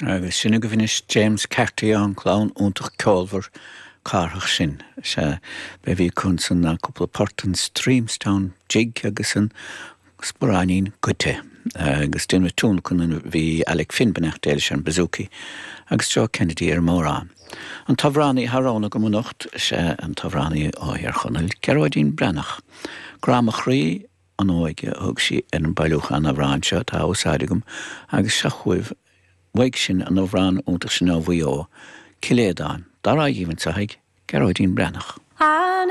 Agus sin agaibh anois James Carty, an clann iontach ceolmhar Cárthach sin. Sea, b'é a bhí acu ansan ná cúpla port, an Streamstown Jig agus an Sparáinín Goidte. Agus déanamh tionlacan a bhí Alec Finn, beannacht Dé leis, ar an bouzouki agus Joe Kennedy ar an mbodhrán. An t-amhránaí atá roghnaithe agam anocht, sea, an t-amhránaí ó Thír Chonaill, Gearóidín Breathnach. Grá mo chroí, an óige a thug sí ar an bailiúchán amhrán seo atá á úsáid agam agus seo chugaibh uaidh sin an amhrán iontach sin ó Mhaigh Eo, Cill Aodáin. Dá rogha dhíbh anseo ag Gearóidín Breathnach.